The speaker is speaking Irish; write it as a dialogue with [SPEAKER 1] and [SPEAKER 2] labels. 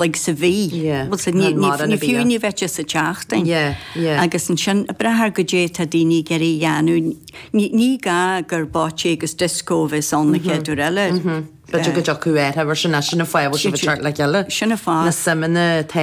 [SPEAKER 1] Like sa mhí.
[SPEAKER 2] Yeah.
[SPEAKER 1] Bhuel sa ní ní fiú ní bheadh sé sa tseachtain.
[SPEAKER 2] Yeah, yeah.
[SPEAKER 1] Agus ansin ag brath ar goidé tá daoine ag iarraidh a dhéanamh, ní ní gá gur bocce agus disco a bheas ann an chéad uair eile.
[SPEAKER 2] B'fhéidir go dtiocfadh air, mar sin, sin an fáth a bhfuil sibh ag teacht le chéile.
[SPEAKER 1] Sin an fáth.
[SPEAKER 2] Na suimeanna atá.